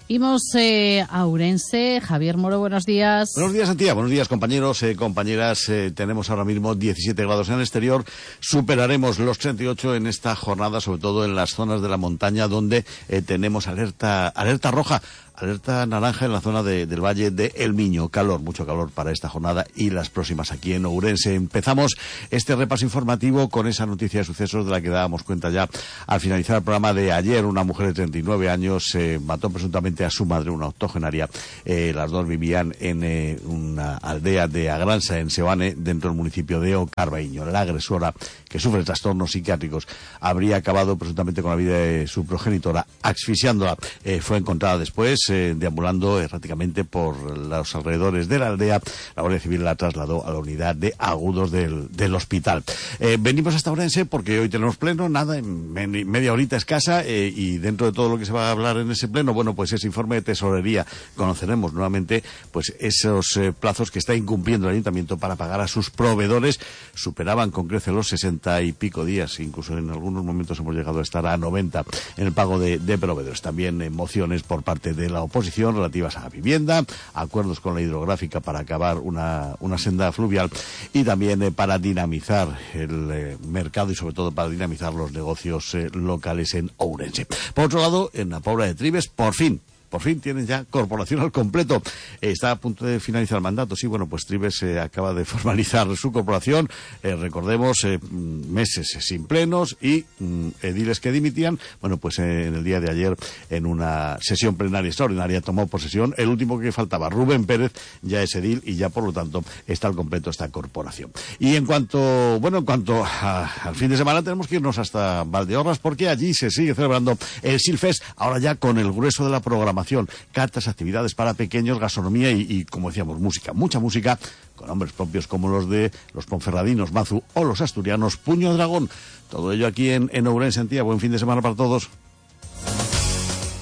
Imos eh, a Ourense. Javier Moro, buenos días. Buenos días, Antía. Buenos días, compañeros, eh, compañeras. Eh, tenemos ahora mismo diecisiete grados en el exterior. Superaremos los treinta y ocho en esta jornada, sobre todo en las zonas de la montaña donde eh, tenemos alerta, alerta roja. Alerta naranja en la zona de, del Valle de El Miño. Calor, mucho calor para esta jornada y las próximas aquí en Ourense. Empezamos este repaso informativo con esa noticia de sucesos de la que dábamos cuenta ya al finalizar el programa de ayer. Una mujer de treinta y nueve años eh, mató presuntamente a su madre, una octogenaria. Eh, las dos vivían en eh, una aldea de Agransa, en Seoane, dentro del municipio de Ocarbaíño. La agresora, que sufre trastornos psiquiátricos, habría acabado presuntamente con la vida de su progenitora, asfixiándola. Eh, fue encontrada después Eh, deambulando erráticamente por los alrededores de la aldea. La Guardia Civil la trasladó a la unidad de agudos del, del hospital. Eh, venimos hasta Ourense porque hoy tenemos pleno, nada, en me, media horita escasa, eh, y dentro de todo lo que se va a hablar en ese pleno, bueno, pues ese informe de tesorería. Conoceremos nuevamente pues esos eh, plazos que está incumpliendo el ayuntamiento para pagar a sus proveedores. Superaban con creces los sesenta y pico días, incluso en algunos momentos hemos llegado a estar a noventa en el pago de, de proveedores. También eh, mociones por parte de la oposición relativas a la vivienda, acuerdos con la hidrográfica para acabar una, una senda fluvial y también eh, para dinamizar el eh, mercado y sobre todo para dinamizar los negocios eh, locales en Ourense. Por otro lado, en la Pobla de Tribes, por fin, por fin tienen ya corporación al completo. Eh, está a punto de finalizar el mandato. Sí, bueno, pues Tribes eh, acaba de formalizar su corporación. Eh, recordemos, eh, meses sin plenos y mm, ediles que dimitían. Bueno, pues eh, en el día de ayer, en una sesión plenaria extraordinaria, tomó posesión el último que faltaba, Rubén Pérez, ya es edil y ya, por lo tanto, está al completo esta corporación. Y en cuanto, bueno, en cuanto a, al fin de semana, tenemos que irnos hasta Valdeorras porque allí se sigue celebrando el Silfest, ahora ya con el grueso de la programación. Cartas, actividades para pequeños, gastronomía y, y, como decíamos, música. Mucha música con nombres propios como los de los ponferradinos Mazu o los asturianos Puño de Dragón. Todo ello aquí en, en Ourense, Antía. Buen fin de semana para todos.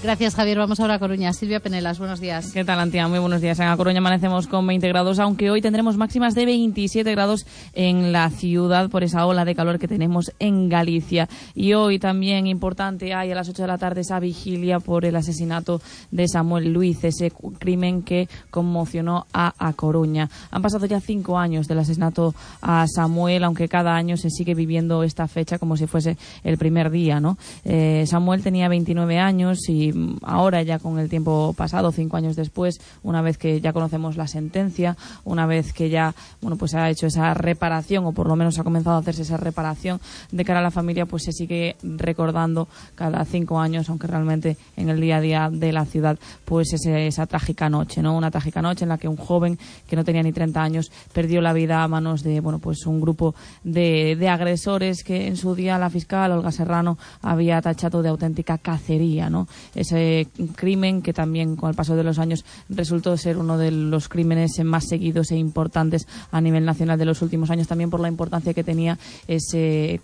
Gracias, Javier. Vamos ahora a Coruña. Silvia Penelas, buenos días. ¿Qué tal, Antía? Muy buenos días. En A Coruña amanecemos con veinte grados, aunque hoy tendremos máximas de veintisiete grados en la ciudad por esa ola de calor que tenemos en Galicia. Y hoy también importante, hay a las ocho de la tarde esa vigilia por el asesinato de Samuel Luiz, ese crimen que conmocionó a A Coruña. Han pasado ya cinco años del asesinato a Samuel, aunque cada año se sigue viviendo esta fecha como si fuese el primer día, ¿no? Eh, Samuel tenía veintinueve años y ahora, ya con el tiempo pasado, cinco años después, una vez que ya conocemos la sentencia, una vez que ya, bueno, pues se ha hecho esa reparación, o por lo menos ha comenzado a hacerse esa reparación de cara a la familia, pues se sigue recordando cada cinco años, aunque realmente en el día a día de la ciudad, pues ese, esa trágica noche, ¿no? Una trágica noche en la que un joven que no tenía ni treinta años perdió la vida a manos de, bueno, pues un grupo de, de agresores que en su día la fiscal Olga Serrano había tachado de auténtica cacería, ¿no? Ese crimen que también con el paso de los años resultó ser uno de los crímenes más seguidos e importantes a nivel nacional de los últimos años, también por la importancia que tenía ese,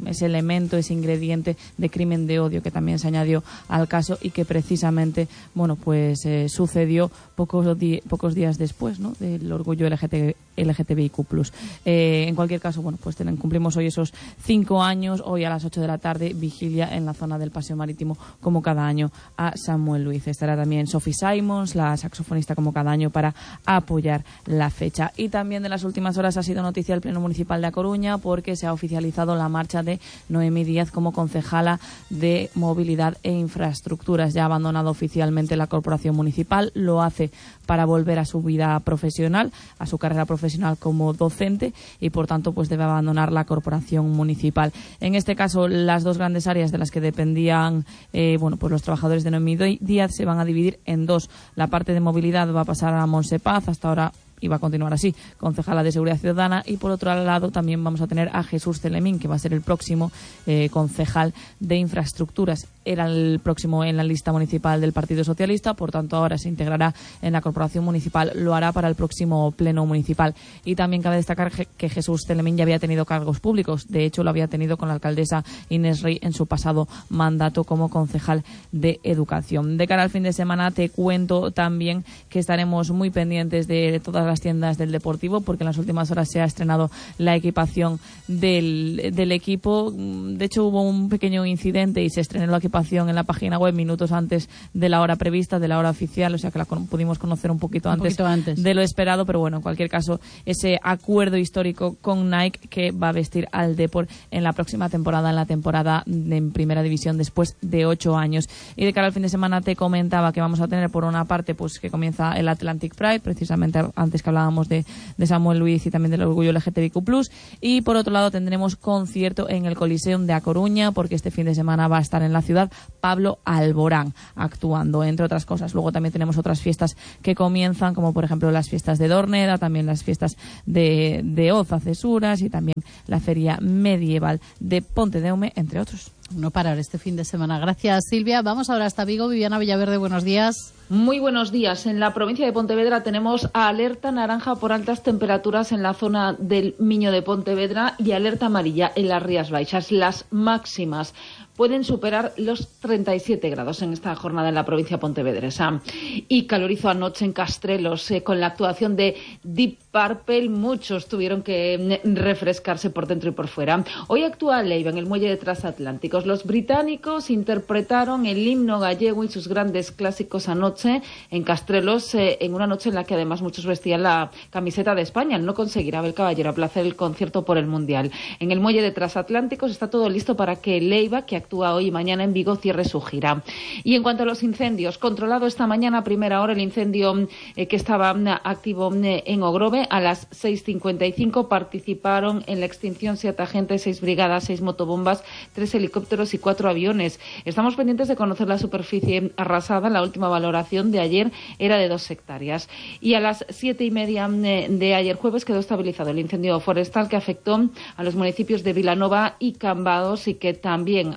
ese elemento, ese ingrediente de crimen de odio que también se añadió al caso y que precisamente, bueno, pues eh, sucedió pocos, di pocos días después, ¿no?, del orgullo L G T B I Q plus. Eh, en cualquier caso, bueno, pues ten, cumplimos hoy esos cinco años, hoy a las ocho de la tarde, vigilia en la zona del Paseo Marítimo, como cada año, a Samuel Luiz. Estará también Sophie Simons, la saxofonista, como cada año, para apoyar la fecha. Y también de las últimas horas ha sido noticia el Pleno Municipal de A Coruña porque se ha oficializado la marcha de Noemí Díaz como concejala de Movilidad e Infraestructuras. Ya ha abandonado oficialmente la corporación municipal, lo hace para volver a su vida profesional, a su carrera profesional como docente, y por tanto pues debe abandonar la corporación municipal. En este caso, las dos grandes áreas de las que dependían eh, bueno, pues los trabajadores de Noemí Díaz se van a dividir en dos. La parte de movilidad va a pasar a Monse Paz, hasta ahora y va a continuar así, concejala de Seguridad Ciudadana, y por otro lado también vamos a tener a Jesús Celemín, que va a ser el próximo eh, concejal de Infraestructuras. Era el próximo en la lista municipal del Partido Socialista, por tanto ahora se integrará en la corporación municipal, lo hará para el próximo pleno municipal. Y también cabe destacar que Jesús Celemín ya había tenido cargos públicos, de hecho lo había tenido con la alcaldesa Inés Rey en su pasado mandato como concejal de Educación. De cara al fin de semana te cuento también que estaremos muy pendientes de todas las tiendas del Deportivo, porque en las últimas horas se ha estrenado la equipación del, del equipo. De hecho hubo un pequeño incidente y se estrenó la equipación en la página web minutos antes de la hora prevista, de la hora oficial, o sea que la con, pudimos conocer un poquito, un antes, poquito antes de lo esperado, pero bueno, en cualquier caso, ese acuerdo histórico con Nike que va a vestir al Depor en la próxima temporada, en la temporada en Primera División después de ocho años. Y de cara al fin de semana te comentaba que vamos a tener por una parte pues que comienza el Atlantic Pride, precisamente antes que hablábamos de, de Samuel Luis y también del orgullo L G T B Q plus, y por otro lado tendremos concierto en el Coliseum de A Coruña, porque este fin de semana va a estar en la ciudad Pablo Alborán actuando, entre otras cosas. Luego también tenemos otras fiestas que comienzan, como por ejemplo las fiestas de Dorneda, también las fiestas de, de Oza, Cesuras, y también la feria medieval de Pontedeume, entre otros. No parar este fin de semana. Gracias, Silvia. Vamos ahora hasta Vigo. Viviana Villaverde, buenos días. Muy buenos días. En la provincia de Pontevedra tenemos alerta naranja por altas temperaturas en la zona del Miño de Pontevedra y alerta amarilla en las Rías Baixas. Las máximas pueden superar los treinta y siete grados en esta jornada en la provincia pontevedresa. Y calorizo anoche en Castrelos eh, con la actuación de Deep Purple. Muchos tuvieron que refrescarse por dentro y por fuera. Hoy actúa Leiva en el muelle de Transatlánticos. Los británicos interpretaron el himno gallego y sus grandes clásicos anoche en Castrelos, eh, en una noche en la que además muchos vestían la camiseta de España al no conseguir Abel Caballero aplazar el concierto por el Mundial. En el muelle de Transatlánticos está todo listo para que Leiva, que actúa hoy y mañana en Vigo, cierre su gira. Y en cuanto a los incendios, controlado esta mañana a primera hora el incendio eh, que estaba activo eh, en Ogrove. A las seis cincuenta y cinco participaron en la extinción siete agentes, seis brigadas, seis motobombas, tres helicópteros y cuatro aviones. Estamos pendientes de conocer la superficie arrasada. La última valoración de ayer era de dos hectáreas. Y a las siete y media de, de ayer jueves quedó estabilizado el incendio forestal que afectó a los municipios de Vilanova y Cambados y que también